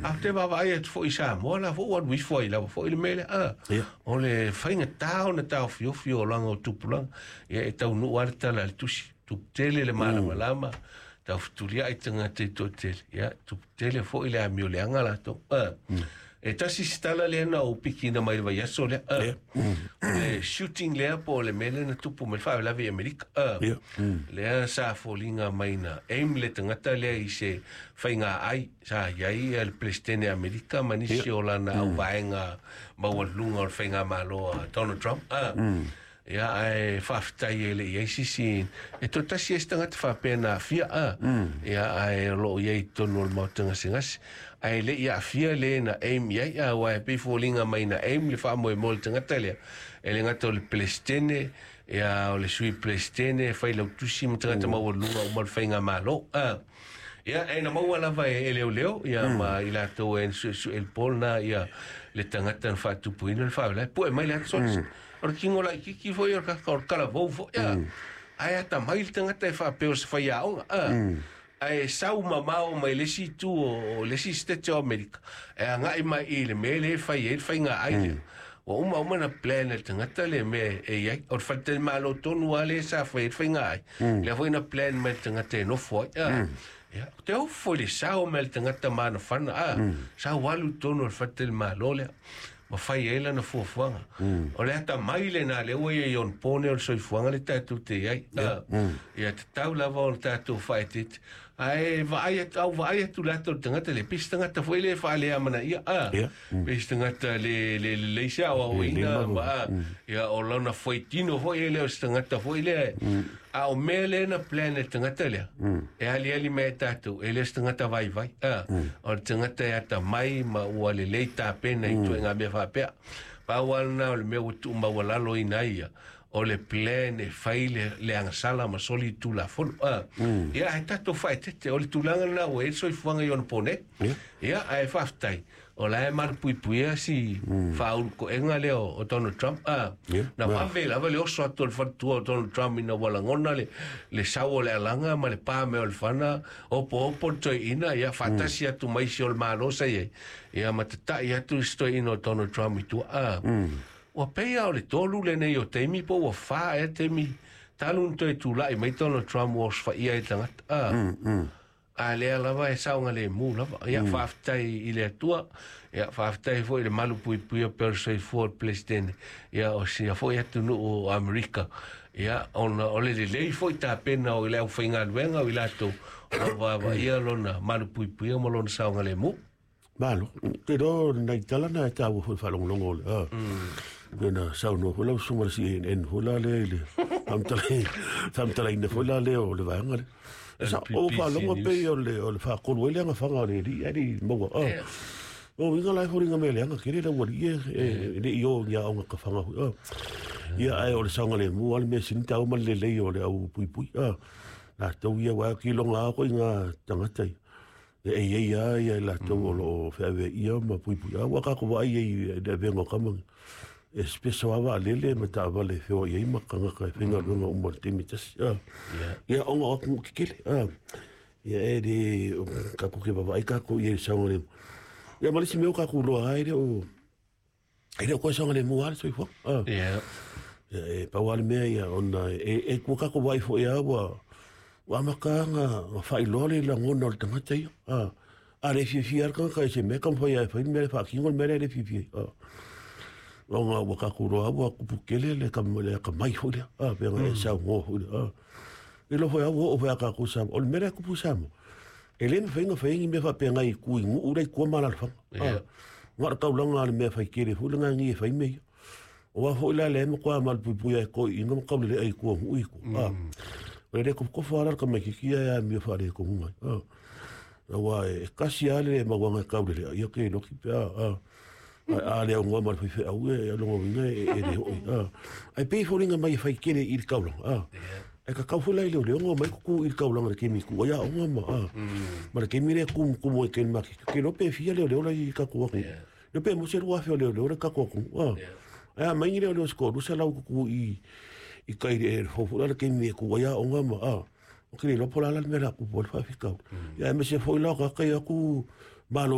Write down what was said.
A te vaavaai atu foi i Samoa la foi ua alu ifo ai lava foi le mea lea a. O le faigata ona taofiofi o olaga o tupulaga. Ia e taunuu lava le tala a le tusi, tupu tele le malamalama, taufutuliai tagata i toatele, ia tupu tele foi le amio leaga latou. E tasi se tala lea na ou pikiina mai le vaiaso lea. O le shooting lea po o le mea lea na tupu mai le faalavelave i Amerika. Lea sa foliga mai na aim le tagata lea i se faiga ai sa i ai le Peresetene Amerika ma nisi o lana auvaega maualuluga o le faigamalo a Donald Trump. Ia, ae faafetai e le i ai sisi e toatasi ai se tagata faapea na aafia. Ia, ae o loo i ai i totonu o le maota gasegase, ae le i aafia le na aim i ai, aua e pei foliga mai na aim le faamoemoe o le tagata lea e le gata o le Peresetene, ia o le sui Peresetene failautusi ma tagata maualuluga uma o le faigamalo. Ia, e na maua lava e leoleo ia ma i latou e suesue le po lena ia le tagata na faatupuina le faalavelave, pue mai le ata o le tino laitiiti foi o le kaka o le talavou foi a. Ae atamai le tagata e faapea o se faiaoga a. Ae sau mamao mai le isi itu o le isi state o Amerika e agai mai i le mea lea e fai ai le faiga ai lea. Ua uma uma na plan e le tagata le mea e i ai. O le faletalimalo tonu lava lea sa fai ai le faiga ai. Lea foi na plan mai le tagata e nofo ai. Ia, te ofo i le sao mai le tagata ma ana fana. Sau alu tonu o le faletalimalo lea ma fai ai lana fuafuaga. O le atamai lena lea ua i ai ona pone o le soifuaga le tatou te i ai. Ia tatau lava ona tatou faaeteete. Ae vaai atu, au vaai atu le ata o le tagata le, pei se tagata foi le faaleamanaia. Pei se tagata le le lelei se aoaoina ma ia o lona fuaitino foi e le o se tagata foi lea. A o mea lea na plan e le tagata lea, e aliali mai e tatou, e le o se tagata vaivai. O le tagata e atamai ma ua lelei tapena i ituaiga mea faapea. Pau lava lena o le mea ua tuumaualalo ina ia, o le plan e fai le agasala ma soli i Tulafono. Ia, ae tatou faaeteete, o le tulaga lena ua i ai le soifuaga i ona po nei. Ia, ae faafetai, o la e malupuipuia si faaulukoega lea o Donald Trump. Na vave lava le oso atu o le faletua o Donald Trump ina ua lagona le sau o le alaga ma le pa mea o le fana, opoopo le toeaina, ia faatasi atu ma isi o le Malo sa i ai, ia ma tatai atu isi toeaina o Donald Trump i tua. Ua pei lava o le tolu lenei o taimi po ua fa ea taimi talu ona toe tulai mai Donald Trump ua osofaia ai le tagata. A lea lava e saogalemu lava. Ia, faafetai i le Atua. Ia, faafetai foi i le malupuipuia pea o le soifua o le Peresetene. Ia, o sia foi atunuu o Amerika. Ia, ona o le lelei foi tapena o le aufaigaluega o i latou o lo o vaavaaia lona malupuipuia ma lona saogalemu. Malo, te iloa nai tala na e taua foi i le faalogologo o le a. Pei ona saunoa foi lau susuga i le CNN foi la lea i le faamatalaina foi la lea o le vaega lea. Sa ou faalogo pei o le faatolu ai le agafaga o le alii ae le i maua. O uiga la e foliga mai e leaga tele le aualii e le i o i aoga kafaga foi. Ia ae o le saogalemu lava le mea sili taua ma le lelei o le au puipui. Latou ia aua e kiloga lava koe i ngā tagata ia. E i ai lava ia i latou o lo o feaveaia ma puipui. A ua tatou vaai ai i le avega o tama, e special lava vaalele ma taavale e feoai ai ma tagata e faigaluega uma i le taimi e tasi. Ia ona o atunuu tetele. Ia e le tatou te vaavaai tatou i ai i le saogalemu. Ia ma le isi mea ua tatou iloa lava e le o toe saogalemu lava le soifuaga. Ia, e pau lava le mea ia ona e ua tatou vaai foi lava ua amata ona faailoa le lagona o le tagata ia. A le fiafia lava le tagata i se mea, taumafai lava e fai le mea e faatino le mea lea e le fiafia ai. Ona ua tatou iloa lava ua tupu tele le atamai foi lea, pei ona e saunoa foi lea. E iloa foi lava ua oo foi ia tatou i Samoa. O le mea lea e tupu i Samoa, e le mafai ona fai ni mea faapena i tu i nuu la i tua ma alaalafaga. Na o le taulaga lava o le mea fai tele foi lena e fai mea ia. Aua foi la lea e matua malupuipuia e toeaiina ma taulelea i tua o nuu i tua. O le le tofotofo lava la le tamaitiiti ia e amio faaletonu ai. Aua e tasi lava le mauaga e taulelea, ia te iloa pe a. A le aunoa ma le faifeau e lona uiga e le oo i. Ae pei e foliga mai e fai tele i le taulaga. Ae tatau foi la i leoleo ona omai tutu i le taulaga i le taimi e tuu ai aoga ma ma le taimi lea e tumutumu ai i le maketi. Ou te iloa pe fia leoleo la i tatou atunuu. Iloa pe maua se 2,000 o leoleo la i tatou atunuu. Ae a mai ni leoleo se 200 tutu i tai i le fou foi la le taimi e tuu ai aoga ma ou te le iloa po o le a la le mea o le a tupu ai le faafitauli. Ia aemaise foi la o tagata ia o atu malo.